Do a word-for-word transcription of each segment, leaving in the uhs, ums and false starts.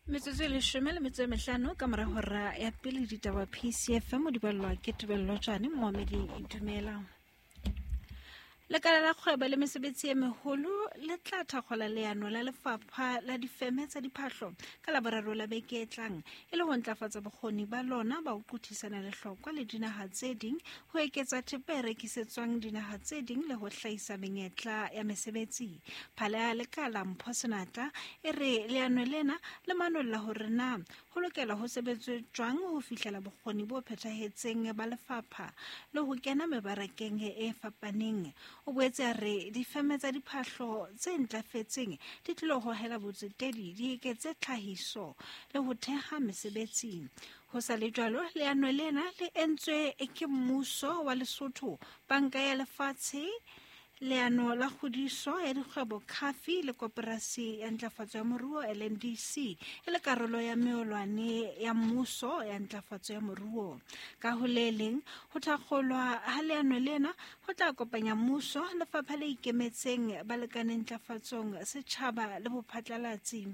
Metsotso e leshome le metso e mehlano ka mora hora ya pele ditaba P C F M di ballwa ke Tebello Tjane. Moamedi dumela. Lekala la kgwebo le mesebetsi e meholo le tla thakgola leano la lefapha la difeme tsa diphahlo ka Laboraro la beke e tlang e le ho ntlafatsa bokgoni ba lona ba ho qothisana lehlokwa le dinaha tse ding, ho eketsa thepa e rekisetswang dinaha tse ding le ho hlahisa menyetla ya mesebetsi. Phala ya lekala Mpho Senatla e re leano lena le manolla hore na ho lokela ho sebetswe jwang ho fihlela bokgoni bo phethahetseng ba lefapha le ho kena mebarakeng e fapaneng. O boetse a re difeme tsa diphahlo tse ntlafetseng di tlilo hohela botsetedi, di eketse tlhahiso le ho theha mesebetsi. Ho sa le jwalo, leano lena le entswe ke mmuso wa Lesotho, Banka ya Lefatshe, leano la kgodiso ya dikgwebo Khafi le koporasi ya ntlafatso ya moruo L N D C e le karolo ya meolwane ya mmuso ya ntlafatso ya moruo. Ka ho le leng, ho thakgolwa ha leano lena ho tla kopanya mmuso, lefapha le ikemetseng, balekane ntlafatsong, setjhaba le bophatlalatsi.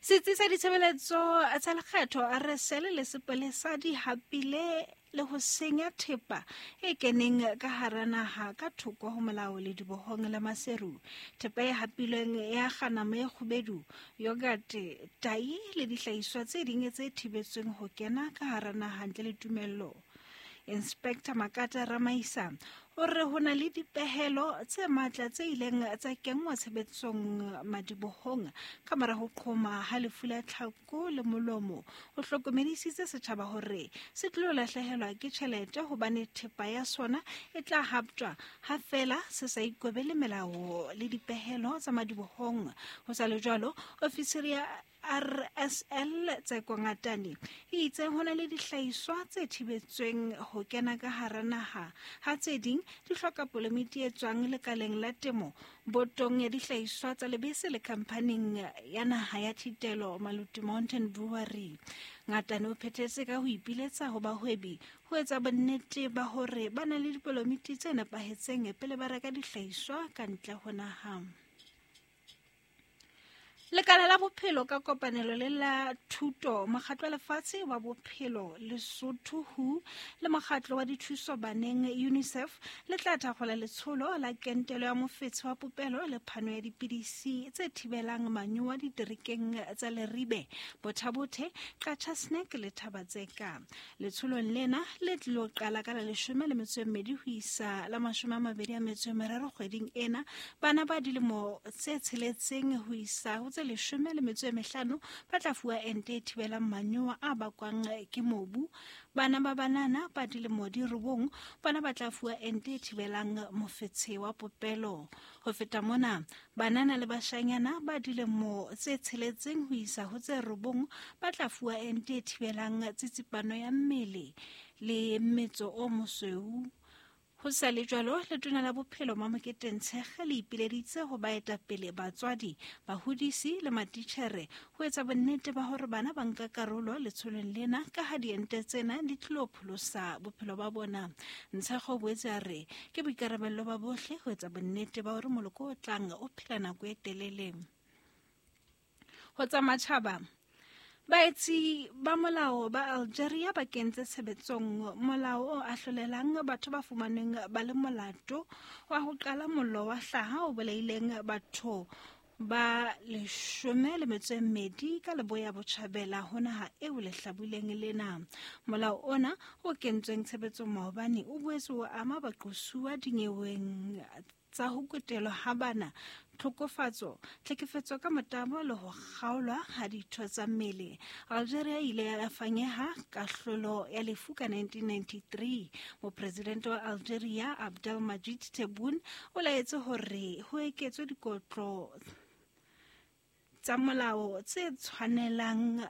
Setsi sa ditshebeletso tsa lekgetho R S L le sepolesa di hapile le ho senya thepa e keneng ka hara naha ka thoko ho molao le dibohong la Maseru. Thepa e hapilweng ya kganamo e kgubedu, yogurt, tai le dihlahiswa tse ding tse thibetsweng ho kena ka hara naha ntle le tumello. Inspector Makata Ramaisa o re ho na le dipehelo tse matla tse ileng tsa kenngwa tshebetsong madibohong ka mora ho qhoma ha lefu la tlhako le molomo. O hlokomedisitse setjhaba hore se tlo lahlehelwa ke tjhelete hobane thepa ya sona e tla haptjwa ha feela se sa ikobele melao le dipehelo tsa madibohong. Ho sa le jwalo, ofisiri ya R S L Tseko Ngatane e itse ho na le dihlahiswa tse thibetsweng ho kena ka hara naha, ha tse ding di hloka polomiti e tswang lekaleng la temo, botong ya dihlahiswa tsa lebese le khamphaning ya naha ya thitelo Maluti Mountain Brewery. Ngatane o phethetse ka ho ipiletsa ho bahwebi ho etsa bonnete ba hore ba na le dipolomiti tse nepahetseng pele ba reka dihlahiswa ka ntle ho naha. Lekala la bophelo ka kopanelo le la thuto, mokgatlo wa lefatshe wa bophelo Lesotho W H O le mokgatlo wa dithuso baneng UNICEF le tla thakgola letsholo la kentelo ya mofetshe wa popelo le phano ya dipidisi tse thibelang manyowa diterekeng tsa Leribe, Bothabothe, Qacha's Nek le Thabatseka. Letsholong lena le tlilo qala ka la leshome le metso e mmedi ho isa la mashome a mabedi a metso e meraro kgweding ena. Bana ba dilemo tse tsheletseng ho isa ho tse leshome le metso e mehlano ba tla fuwa ente e thibelang manyowa a bakwang ke mobu. Bana ba banana ba dilemo di robong bona ba tla fuwa ente e thibelang mofetshe wa popelo. Ho feta mona, banana le bashanyana ba dilemo tse tsheletseng ho isa ho tse robong ba tla fuwa ente e thibelang tsitsipano ya mmele le mmetso o mosweu. Ho sa le jwalo, letona la bophelo Mamokete Ntshekge le ipileditse ho baetapele, batswadi, bahodisi le matitjhere ho etsa bonnete ba hore bana ba nka karolo letsholong lena ka ha diente tsena di tlilo pholosa bophelo ba bona. Ntshekge o boetse a re ke boikarabello ba bohle ho etsa bonnete ba hore moloko o tlang o phela nako e telele. Ho tsa matjhaba, baetsi ba molao ba Algeria ba kentse tshebetsong molao o ahlolelang batho ba fumanweng ba le molato wa ho qala mollo wa hlaha o bolaileng batho ba leshome le metso e mmedi ka leboya botjhabela ho naha eo lehlabuleng lena. Molao ona o kentsweng tshebetsong maobane o boetse o ama baqosuwa dinyeweng tsa ho kutelwa ha bana, tlhokofatso, tlhekefetso ka motabo le ho kgaolwa ha ditho tsa mmele. Algeria e ile ya fanyeha kahlolo ya lefu ka nineteen ninety-three. Mopresidente wa Algeria Abdelmadjid Tebboune o laetse hore ho eketswe dikotlo tsa molao tse tshwanelang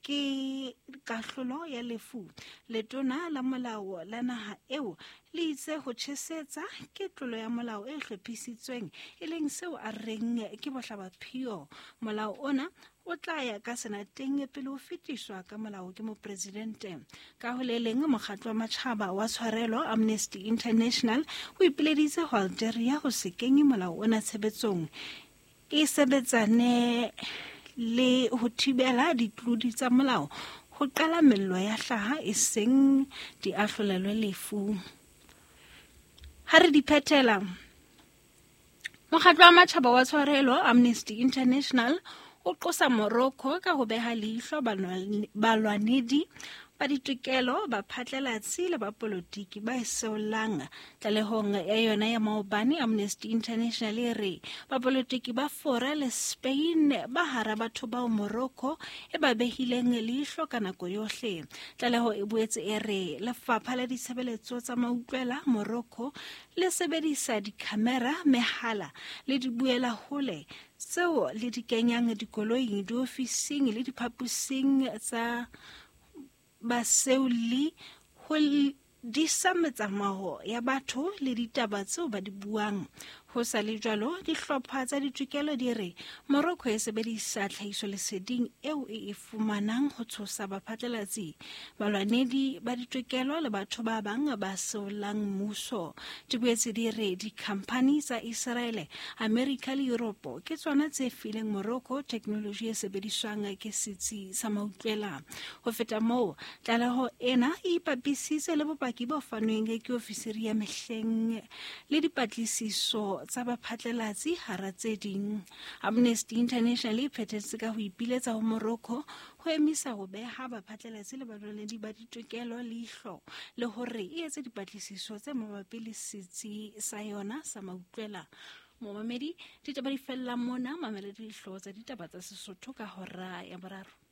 ke kahlolo ya lefu. Letona la molao la naha eo le itse ho tjhesetsa ke tlolo ya molao e hlophisitsweng, e leng seo a reng ke bohlabaphio. Molao ona o tla ya ka senateng pele o fetiswa ka molao ke mopresidente. Ka ho le leng, mokgatlo wa matjhaba wa tshwarelo Amnesty International o ipileditse ho Algeria ho se kenye molao ona tshebetsong. e sebetsane le ho thibela ditlodi tsa molao ho qala mello ya hlaha e seng di ahlolelwe lefu. Ha re di phethela, Mokgatlo wa Matjhaba wa Tshwarelo Amnesty International o qosa Morocco ka ho beha leihlo balwanedi ba ditokelo, baphatlalatsi le bapolotiki ba e seolang. Tlalehong ya yona ya maobane, Amnesty International e re bapolotiki ba Fora le Spain ba hara batho bao Morocco e ba behileng leihlo ka nako yohle. Tlaleho e boetse e re lefapha la ditshebeletso tsa mautlwela Morocco le sebedisa dikhamera, mehala le dibuelahole tseo le di kenyang dikoloing, diofising le diphaposing tsa baseuli ho disa metsamao ya batho le ditaba tseo ba di buang. Ho sa le jwalo, dihlopha tsa ditokelo di re Morocco e sebedisa tlhahisoleseding eo e e fumanang ho tshosa baphatlalatsi, balwanedi ba ditokelo le batho ba bang ba seolang mmuso. Di boetse di re dikhamphani tsa Israele, Amerika le Europe ke tsona tse fileng Morocco teknoloji e sebediswang ke setsi sa mautlwela. Ho feta moo, tlaleho ena e ipapisitse le bopaki bo fanweng ke ofisiri ya mehleng le dipatlisiso tsa baphatlalatsi hara tse ding. Amnesty International e phethetse ka ho ipiletsa ho Morocco ho emisa ho beha baphatlalatsi le balwanedi ba ditokelo leihlo le hore e etse dipatlisiso tse mabapi le setsi sa yona sa mautlwela. Momamedi, ditaba di fella mona. Mamela dihlooho tsa ditaba tsa Sesotho ka hora ya boraro.